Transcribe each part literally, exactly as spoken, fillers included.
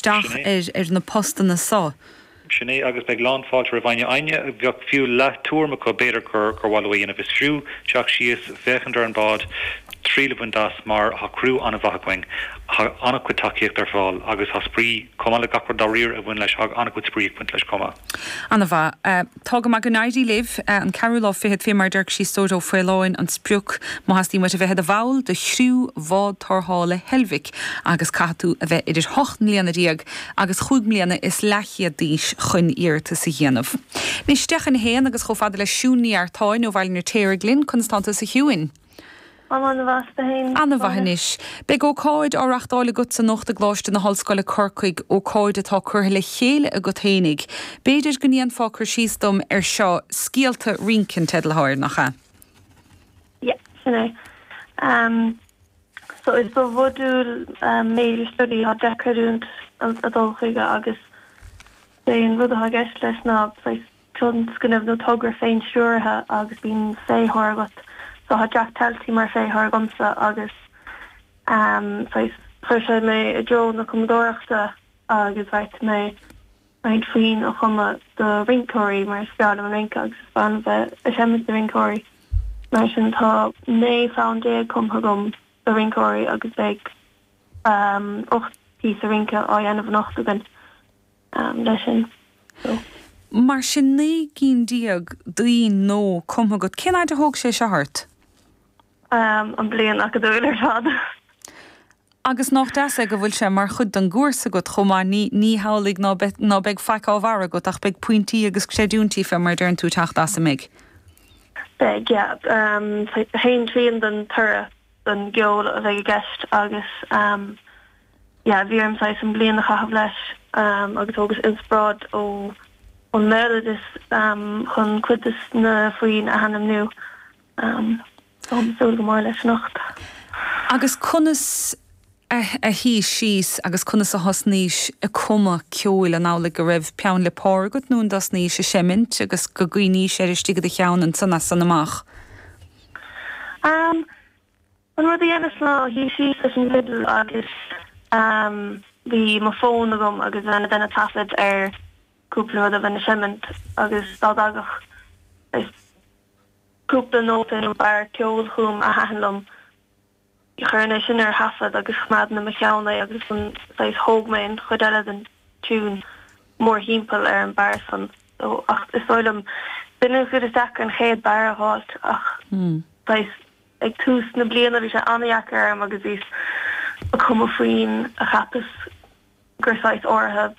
isteach ar ar na postanna so. Sin é agus beidh lánfháilte roimh éinne éinne a bheadh fiú leath tuairim acu b'fhéidir gur gur mhaith leo a dhéanamh. Is fiú teacht síos féachaint ar an bád, triail a bhaint as mar tá criú an-mhaith againn, tá an-chuid tacaíocht ar fáil agus tá spraoi chomh maith le gach rud dáiríre a bhain leis, tá an-chuid spraoi ag baint leis chomh maith. An-mhaith. Tá go maith go n-éirí libh. An ceathrú lá fichead fé mar a deir sí Ó Faoláin an sprioc má theastaíonn uait a bheith i do bhall de chriú bhád tarrthála Heilbhic agus caithfidh tú a bheith idir hocht mbliana déag agus chúig mbliana is leathchéad d'aois chun iarratas a dhéanamh. Anois deich chun a haon agus chomh fada le Siún Ní Artáin ó Bhaile an Fheirtéaraigh linn, conas tánn tú a Shiúin? An-mhaith féin. An-mhaith anois. Beidh ócáid á reachtáil agat anocht i gColáiste na hOllscoile Corcaigh ócáid atá curtha le chéile agat fhéinig. B'fhéidir go ndéanfá cur síos dom ar seo scéalta rince an teideal atá air nach ea? Yeah, sin é. Um, so is do mhodúl um, major study tá deich gcreidiúint a dul chuige agus é an rud atá i gceist leis ná tionscnamh nó togra féinstiúrtha agus bíonn féitheoir agat. So tá Jack Talty mar féitheoir agamsa agus um, chuir sé mé i dtreo na cumadóireachta agus bheart mé roinnt foinn a chumadh do rinceoirí mar is breá liom an rince agus is breá liom bheith ag seimint do rinceoirí. Mar sin tá naoi fonn déag cumtha agam do rinceoirí agus beidh um, ocht píosa rince á dhéanamh anocht againn um, leis sin. So. Mar sin naoi gcinn déag d'fhoinn nua cumtha agat cén fhad a thóg sé seo ort? Um, an bliain acadúil ar fad. Agus nach deas é go bhfuil sé mar chuid den gcúrsa agat chomh maith ní ní hamhlaidh ná ná beidh faic á bharr agat ach beidh pointí agus creidiúintí fé mar deireann tú teacht as an mbeidh. Beidh yeah, um, haon trian den toradh den gceol a bheidh i gceist agus um, yeah, bhí orm saghas an bliain a chaitheamh leis um, agus agus inspioráid ó ón mbéaloideas um, chun cuid de na foinn a ainmniú um, súil go mór leis anocht. Agus conas a, a shuigh síos agus conas a thosnaís ag cumadh ceoil an amhlaidh go raibh peann le pár agat nó an dtosnaís ag seimint agus go gcuimhnís ar istigh i do cheann ansan as san amach. Um, an rud a dhéanas ná shuigh síos leis an bhfidil agus um, bhí mo fón agam agus bheinn ag déanamh taifead ar cúpla rud a bheinn ag seimint agus dá dtagadh cúpla nóta nó barr ceoil chugam a thaitin liom. Chuirfinn é sin ar thaifead agus choimeádfainn i mo cheann é agus an saghas thóg mé an chuid eile den tiún mórthimpeall ar an barr san. So, ach is dóigh liom b'in an chuid is deacra an chéad barr a fháilt ach Hmm. saghas ag tús na bliana bhí sé an-deacair orm agus bhíos ag cumadh foinn a cheapas gur saghas áirithe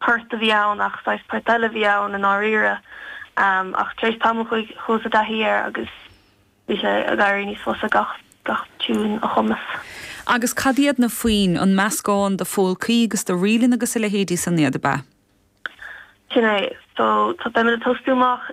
port a bhí ann ach saghas port eile bhí ann i ndáiríre. Um, ach tar éis tamaill chuaigh chuas i dtaithí air agus bhí sé ag éirí níos fusa gach gach tiún a chumas. Agus cad iad na foinn an meascán de phólcaí agus de ríleanna agus a leithéidí san iad ab ea? Sin é, so tá beimid ag tosú amach